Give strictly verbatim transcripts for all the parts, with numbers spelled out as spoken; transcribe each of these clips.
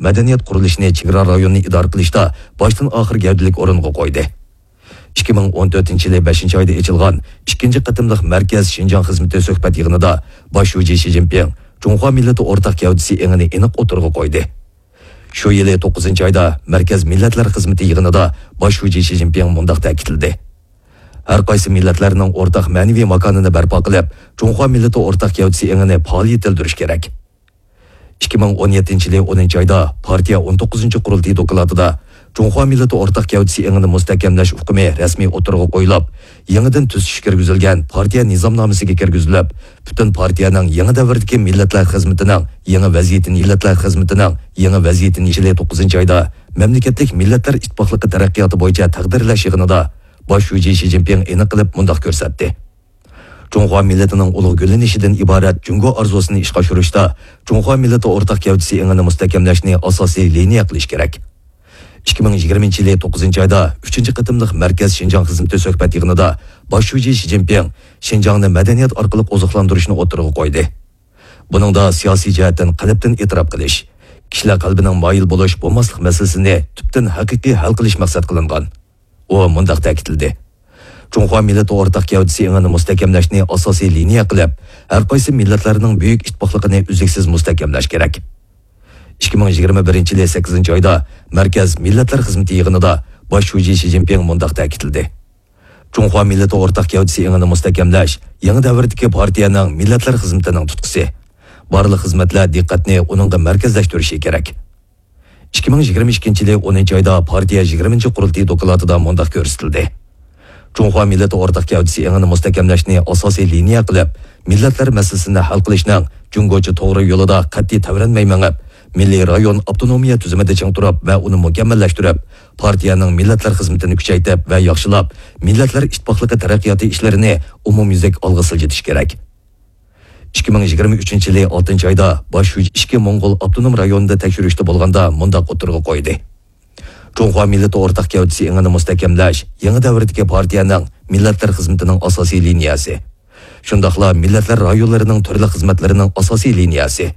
مەدەنىيەت قۇرۇلۇشىنى چېگرا رايونىنى ئىدارە قىلىشتا باشتىن ئاخىر گەۋدىلىك ئورۇنغا قويدى. ئىككى مىڭ ئون تۆتىنچى يىلى بەشىنچى ئايدا ئېچىلغان ئىككىنچى قېتىملىق مەركەز شىنجاڭ خىزمىتى سۆھبەت يىغىنىدا باش شۇجى شى جىنپىڭ جۇڭخۇا مىللىتى ئورتاق گەۋدىسى ئېڭىنى ئېنىق ئوتتۇرىغا قويدى. شۇ يىلى توققۇزىنچى ئايدا مەركەز مىللەتلەر خىزمىتى يىغىنىدا باش شۇجى شى جىنپىڭ مۇنداق تەكىتلىدى: ھەر قايسى مىللەتلەرنىڭ ئورتاق مەنىۋى ماكانىنى بەرپا قىلىپ، جۇڭخۇا مىللىتى ئورتاق گەۋدىسى ئېڭىنى پائالىيەتلەندۈرۈش كېرەك. ئىككى مىڭ ئون يەتتىنچى يىلى ئونىنچى ئايدا پارتىيە ئون توققۇزىنچى قۇرۇلتىيى دوكلاتىدا جۇڭخۇا مىللىتى ئورتاق گەۋدىسى ئېڭىنى مۇستەھكەملەش ئۇقۇمى رەسمىي ئوتتۇرىغا قويۇلۇپ، يېڭىدىن تۈزىتىش كىرگۈزۈلگەن پارتىيە نىزامنامىسىگە كىرگۈزۈلۈپ، پۈتۈن پارتىيەنىڭ يېڭى دەۋردىكى مىللەتلەر خىزمىتىنىڭ يېڭى ۋەزىيىتىنى، مىللەتلەر خىزمىتىنىڭ يېڭى ۋەزىيىتىنى يىلى توققۇزىنچى ئايدا مەملىكەتلىك مىللەتلەر ئىتتىپاقلىقى تەرەققىياتى بويىچە تەقدىرلەش يىغىنىدا باش شۇجى شى جىنپىڭ ئېنىق قىلىپ مۇنداق كۆرسەتتى: جۇڭخۇا مىللىتىنىڭ ئۇلۇغ گۈللىنىشىدىن ئىبارەت جۇڭگو ئارزۇسىنى ئىشقا ئاشۇرۇشتا جۇڭخۇا مىللىتى ئورتاق گەۋدىسى ئېڭىنى مۇستەھكەملەشنى ئاساسىي لىنىيە قىلىش كېرەك. ئىككى مىڭ يىگىرمىنچى يىلى توققۇزىنچى ئايدا ئۈچىنچى قېتىملىق مەركەز شىنجاڭ خىزمىتى سۆھبەت يىغىنىدا باش شۇجى شى جىنپىڭ شىنجاڭنى مەدەنىيەت ئارقىلىق ئوزۇقلاندۇرۇشنى ئوتتۇرىغا قويدى. بۇنىڭدا سىياسىي جەھەتتىن قەلبتىن ئېتىراپ قىلىش، كىشىلەر قەلبىنىڭ مايىل بولۇش، بولماسلىق مەسىلىسىنى تۈپتىن ھەقىقىي ھەل قىلىش مەقسەت قىلىنغان. ئۇ مۇنداق تەكىتلىدى: جۇڭخۇا مىللىتى ئورتاق گەۋدىسى ئېڭىنى مۇستەھكەملەشنى ئاساسىي لىنىيە قىلىپ، ھەر قايسى مىللەتلەرنىڭ بۈيۈك ئىتتىپاقلىقىنى ئۈزلۈكسىز مۇستەھكەملەش كېرەك. ئىككى مىڭ يىگىرمە بىرىنچى يىلى سەككىزىنچى ئايدا مەركەز مىللەتلەر خىزمىتى يىغىنىدا باش شۇجى شى جىنپىڭ مۇنداق تەكىتلىدى: جۇڭخۇا مىللىتى ئورتاق گەۋدىسى ئېڭىنى مۇستەھكەملەش يېڭى دەۋردىكى پارتىيەنىڭ مىللەتلەر خىزمىتىنىڭ تۇتقىسى. بارلىق خىزمەتلەر دىققەتنى ئۇنىڭغا مەركەزلەشتۈرۈشى كېرەك. ئىككى مىڭ يىگىرمە ئىككىنچى يىلى ئونىنچى ئايدا پارتىيە يىگىرمىنچى قۇرۇلتىيى دوكلاتىدا مۇنداق كۆرسىتىلدى: جۇڭخۇا مىللىتى ئورتاق گەۋدىسى ئېڭىنى مۇستەھكەملەشنى ئاساسىي لىنىيە قىلىپ، مىللەتلەر مەسىلىسىنى ھەل قىلىشنىڭ جۇڭگوچە توغرا يولىدا قەتئىي تەۋرەنمەي مېڭىپ، مىللىي رايون ئاپتونومىيە تۈزۈمىدە چىڭ تۇرۇپ ۋە ئۇنى مۇكەممەللەشتۈرۈپ، پارتىيەنىڭ مىللەتلەر خىزمىتىنى كۈچەيتىپ ۋە ياخشىلاپ، مىللەتلەر ئىتتىپاقلىقى تەرەققىياتى ئىشلىرىنى ئومۇميۈزلۈك ئالغا سىلجىتىش كېرەك. ئىككى مىڭ يىگىرمە ئۈچىنچى يىلى ئالتىنچى ئايدا باش شۇجى ئىچكى موڭغۇل ئاپتونوم رايونىدا تەكشۈرۈشتە بولغاندا مۇنداق ئوتتۇرىغا قويدى: جۇڭخۇا مىللىتى ئورتاق گەۋدىسى ئېڭىنى مۇستەھكەملەش يېڭى دەۋردىكى پارتىيەنىڭ مىللەتلەر خىزمىتىنىڭ ئاساسىي لىنىيەسى، شۇنداقلا مىللەتلەر رايونلىرىنىڭ تۈرلۈك خىزمەتلىرىنىڭ ئاساسىي لىنىيەسى.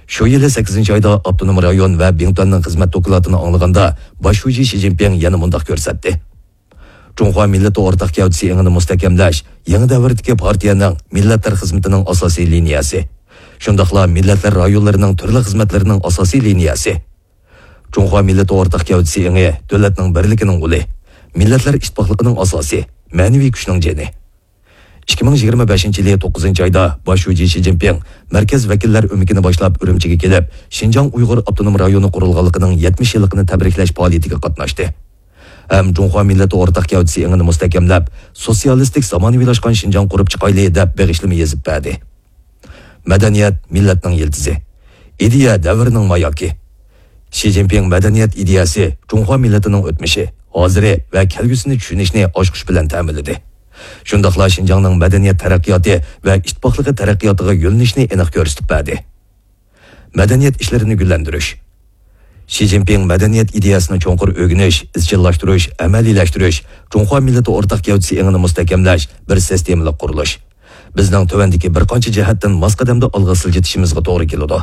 شۇ يىلى سەككىزىنچى ئايدا ئاپتونوم رايون ۋە بىڭتۈەننىڭ خىزمەت دوكلاتىنى ئاڭلىغاندا، باش شۇجى شى جىنپىڭ يەنە مۇنداق كۆرسەتتى: جۇڭخۇا مىللىتى ئورتاق گەۋدىسى ئېڭىنى مۇستەھكەملەش يېڭى دەۋردىكى پارتىيەنىڭ مىللەتلەر خىزمىتىنىڭ ئاساسىي لىنىيەسى، شۇنداقلا مىللەتلەر رايونلىرىنىڭ تۈرلۈك خىزمەتلىرىنىڭ ئاساسىي لىنىيەسى. جۇڭخۇا مىللىتى ئورتاق گەۋدىسى ئېڭى دۆلەتنىڭ بىرلىكىنىڭ ئۇلى، مىللەتلەر ئىتتىپاقلىقىنىڭ ئاساسى، مەنىۋى كۈچنىڭ جېنى. ئىككى مىڭ يىگىرمە بەشىنچى يىلى توققۇزىنچى ئايدا باش شۇجى شى جىنپىڭ مەركەز ۋەكىللەر ئۆمىكىنى باشلاپ ئۈرۈمچىگە كېلىپ، شىنجاڭ ئۇيغۇر ئاپتونوم رايونى قۇرۇلغانلىقىنىڭ يەتمىش يىللىقىنى تەبرىكلەش پائالىيىتىگە قاتناشتى. ھەم جۇڭخۇا مىللىتى ئورتاق گەۋدىسى ئېڭىنى مۇستەھكەملەپ، سوتسىيالىستىك زامانىۋىلاشقان شىنجاڭ قۇرۇپ چىقايلى دەپ بېغىشلىما يېزىپ بەردى. مەدەنىيەت مىللەتنىڭ يىلتىزى، ئىدىيە دەۋرنىڭ ماياكى. شى جىنپىڭ مەدەنىيەت ئىدىيەسى جۇڭخۇا مىللىتىنىڭ ئۆتمۈشى، ھازىرى ۋە كەلگۈسىنى چۈشىنىشنى ئاچقۇچ بىلەن تەمىنلىدى. شۇنداقلا شىنجاڭنىڭ مەدەنىيەت تەرەققىياتى ۋە ئىتتىپاقلىقى تەرەققىياتىغا يۆنىلىشنى ئېنىق كۆرسىتىپ بەردى. مەدەنىيەت ئىشلىرىنى گۈللەندۈرۈش. شى جىنپىڭ مەدەنىيەت ئىدىيەسىنى چوڭقۇر ئۆگىنىش، ئىزچىللاشتۇرۇش، ئەمەلىيلەشتۈرۈش، جۇڭخۇا مىللىتى ئورتاق گەۋدىسى ئېڭىنى مۇستەھكەملەش بىر سىستېمىلىق قۇرۇلۇش. بىزنىڭ تۆۋەندىكى بىر قانچە جەھەتتىن ماس قەدەمدە ئالغا سىلجىتىشىمىزغا توغرا كېلىدۇ.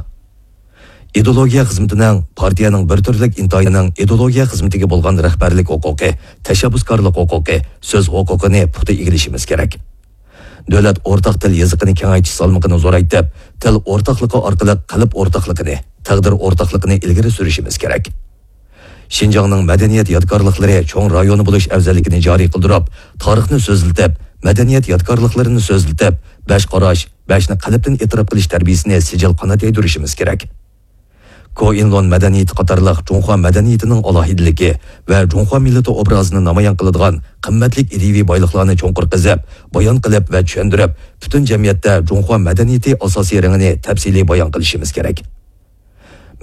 ئىدېئولوگىيە خىزمىتىنىڭ، پارتىيەنىڭ بىر تۈرلۈك ئىنتايىنىڭ ئىدېئولوگىيە خىزمىتىگە بولغان رەھبەرلىك ھوقۇقى، تەشەببۇسكارلىق ھوقۇقى، سۆز ھوقۇقىنى پۇختا ئىگىلىشىمىز كېرەك. دۆلەت ئورتاق تىل يېزىقىنى كېڭەيتىش سالمىقىنى زورايتىپ، تىل ئورتاقلىقى ئارقىلىق قەلب ئورتاقلىقىنى، تەقدىر ئورتاقلىقىنى ئىلگىرى سۈرۈشىمىز كېرەك. شىنجاڭنىڭ مەدەنىيەت يادىكارلىقلىرى چوڭ رايونى بولۇش ئەۋزەللىكىنى جارى قىلدۇرۇپ، تارىخنى سۆزلىتىپ، مەدەنىيەت يادىكارلىقلىرىنى سۆزلىتىپ، بەش قاراش، بەشنى قەلبتىن ئېتىراپ قىلىش تەربىيىسىنى سىجىل قانات يايدۇرۇشىمىز كېرەك. كوئىنلون مەدەنىيىتى قاتارلىق جۇڭخۇا مەدەنىيىتىنىڭ ئالاھىدىلىكى ۋە جۇڭخۇا مىللىتى ئوبرازىنى نامايان قىلىدىغان قىممەتلىك ئىدىيىۋى بايلىقلارنى چوڭقۇر قېزىپ، بايان قىلىپ ۋە چۈشەندۈرۈپ، پۈتۈن جەمئىيەتتە جۇڭخۇا مەدەنىيىتى ئاساسىي رېڭىنى تەپسىلىي بايان قىلىشىمىز كېرەك.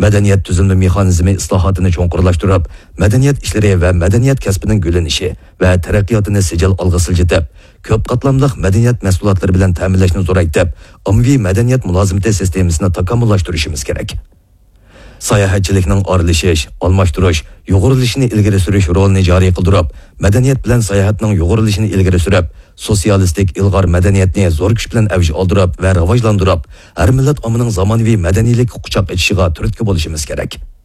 مەدەنىيەت تۈزۈلمە مېخانىزمى ئىسلاھاتىنى چوڭقۇرلاشتۇرۇپ، مەدەنىيەت ئىشلىرى ۋە مەدەنىيەت كەسپىنىڭ گۈللىنىشى ۋە تەرەققىياتىنى سىجىل ئالغا سىلجىتىپ، كۆپ قاتلاملىق مەدەنىيەت مەھسۇلاتلىرى بىلەن تەمىنلەشنى زورايتىپ، ئاممىۋى مەدەنىيەت مۇلازىمىتى سىستېمىسىنى تاكامۇللاشتۇرۇشىمىز كېرەك. ساياھەتچىلىكنىڭ ئارىلىشىش، ئالماشتۇرۇش، يۇغۇرۇلۇشىنى ئىلگىرى سۈرۈش رولىنى جارى قىلدۇرۇپ، مەدەنىيەت بىلەن ساياھەتنىڭ يۇغۇرۇلۇشىنى ئىلگىرى سۈرۈپ، سوتسىيالىستىك ئىلغار مەدەنىيەتنى زور كۈچ بىلەن ئەۋج ئالدۇرۇپ ۋە راۋاجلاندۇرۇپ، ھەر مىللەت ئاممىنىڭ زامانىۋى مەدەنىيلىككە قۇچاق ئېچىشىغا تۈرتكە بولۇشىمىز كېرەك.